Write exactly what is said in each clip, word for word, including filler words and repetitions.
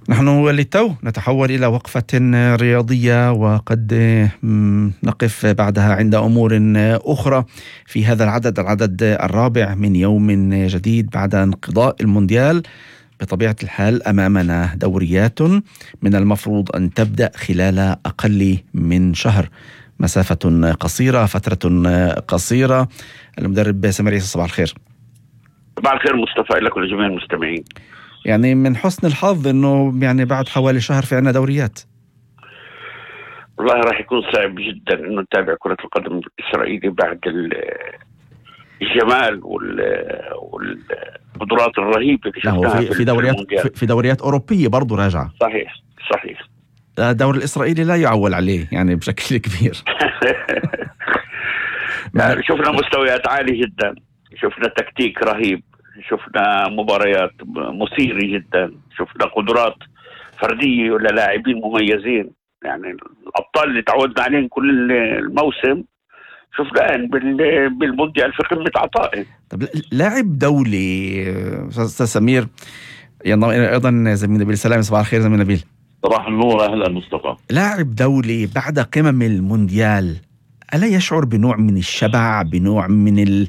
نحن للتو نتحول إلى وقفة رياضية، وقد نقف بعدها عند أمور أخرى في هذا العدد العدد الرابع من يوم جديد بعد انقضاء المونديال. بطبيعة الحال أمامنا دوريات من المفروض أن تبدأ خلال أقل من شهر، مسافة قصيرة، فترة قصيرة. المدرب سمير عيسى، صباح الخير. صباح الخير مصطفى لك ولجميع المستمعين. يعني من حسن الحظ انه يعني بعد حوالي شهر في عنا دوريات. والله راح يكون صعب جدا انه نتابع كرة القدم الاسرائيلي بعد الجمال والقدرات الرهيبة اللي شفناها في, في دوريات في دوريات اوروبية برضو راجعة. صحيح صحيح. الدوري الاسرائيلي لا يعول عليه يعني بشكل كبير. شفنا مستويات عالية جدا، شفنا تكتيك رهيب، شفنا مباريات مثيرة جدا، شفنا قدرات فردية للاعبين مميزين. يعني الأبطال اللي تعودنا عليهم كل الموسم شفناهم بالمونديال في قمة عطائهم. طب لاعب دولي أستاذ سمير، ينضم أيضا زميل نبيل. سلام، صباح الخير زميل نبيل. صباح النور، أهلا مصطفى. لاعب دولي بعد قمم المونديال ألا يشعر بنوع من الشبع، بنوع من ال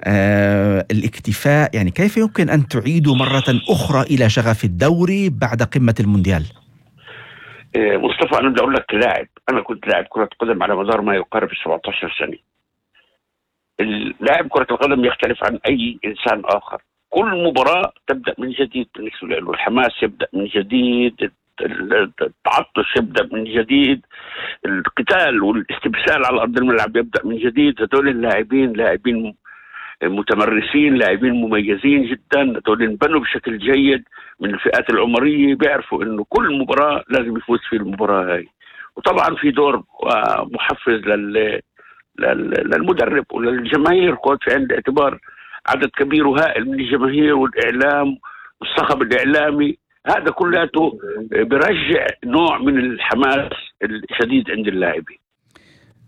آه الاكتفاء؟ يعني كيف يمكن أن تعيدوا مرة أخرى إلى شغف الدوري بعد قمة المونديال؟ إيه مصطفى، أنا بدي أقول لك لاعب، أنا كنت لاعب كرة قدم على مدار ما يقارب سبعة عشر سنة. اللاعب كرة القدم يختلف عن أي إنسان آخر. كل مباراة تبدأ من جديد بالنسبة له، الحماس يبدأ من جديد، التعطش يبدأ من جديد، القتال والاستبسال على أرض الملعب يبدأ من جديد. هذول اللاعبين لاعبين متمرسين، لاعبين مميزين جدا، هذول انبنوا بشكل جيد من الفئات العمرية، بيعرفوا انه كل مباراة لازم يفوز في المباراة هاي. وطبعا في دور محفز لل... لل... للمدرب وللجماهير، قد في عند اعتبار عدد كبير وهائل من الجماهير والإعلام والصخب الإعلامي، هذا كلياته برجع نوع من الحماس الشديد عند اللاعبين.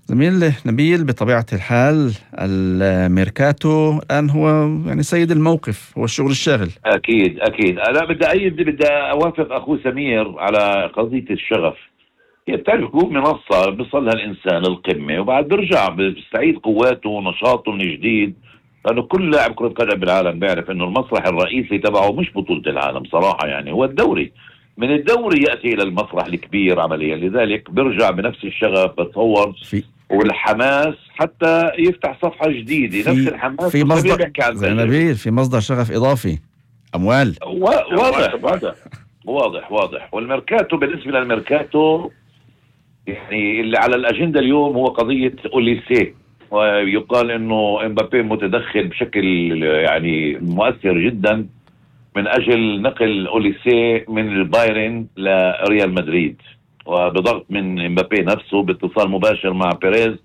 زميل نبيل، بطبيعة الحال الميركاتو الآن هو يعني سيد الموقف، هو الشغل الشاغل. أكيد أكيد. أنا بدي أيد بدي أوافق أخو سمير على قضية الشغف. هي بتعرف منصة بيصلها الإنسان القمة وبعد برجع بيستعيد قواته ونشاطه من جديد، لأنه كل لاعب كرة قدم بالعالم بيعرف إنه المسرح الرئيسي تبعه مش بطولة العالم صراحة، يعني هو الدوري. من الدوري يأتي إلى المسرح الكبير عمليا، لذلك برجع بنفس الشغف بتصور في والحماس حتى يفتح صفحة جديدة. نفس الحماس في مصدر زي نبيل، في مصدر شغف إضافي، أموال. واضح واضح واضح واضح. والميركاتو بالنسبة للميركاتو يعني اللي على الأجندة اليوم هو قضية أوليسيه، ويقال إنه إمبابي متدخل بشكل يعني مؤثر جدا من أجل نقل أوليسيه من البايرن لريال مدريد، وبضغط من إمبابي نفسه باتصال مباشر مع بيريز.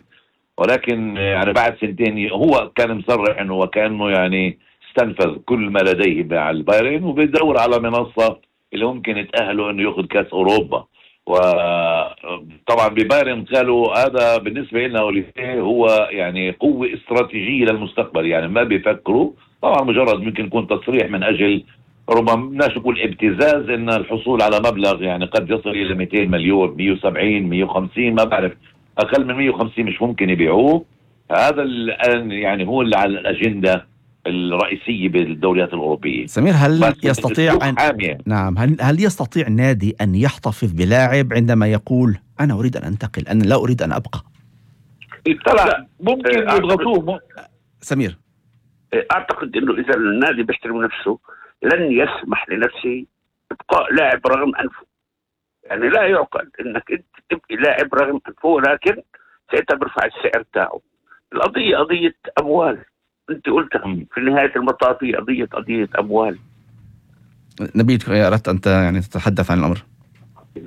ولكن يعني بعد سنتين هو كان مصرح إنه وكأنه يعني استنفذ كل ما لديه مع البايرن وبيدور على منصة اللي ممكن يتأهلوا إنه يأخذ كأس أوروبا. وطبعا ببايرن قالوا هذا بالنسبة لنا أوليسيه هو يعني قوة استراتيجية للمستقبل، يعني ما بيفكروا. طبعا مجرد ممكن يكون تصريح من أجل ربما الناس يقول ابتزاز ان الحصول على مبلغ يعني قد يصل الى مئتين مليون، مئة وسبعين، مئة وخمسين، ما بعرف، اقل من مئة وخمسين مش ممكن يبيعوه. هذا الان يعني هو اللي على الاجنده الرئيسيه بالدوريات الاوروبيه. سمير، هل يستطيع ان نعم هل, هل يستطيع نادي ان يحتفظ بلاعب عندما يقول انا اريد ان انتقل، انا لا اريد ان ابقى؟ طلع ممكن يضغطوه. سمير، اعتقد انه اذا النادي بيحترم نفسه لن يسمح لنفسه ابقاء لاعب رغم انفه. يعني لا يعقل انك انت تبقي لاعب رغم انفه، ولكن ساعتها برفع السعر تاعه. القضيه قضيه اموال، انت قلتها في نهايه المطاف، هي قضيه قضيه اموال. نبيل، اردت انت يعني تتحدث عن الامر.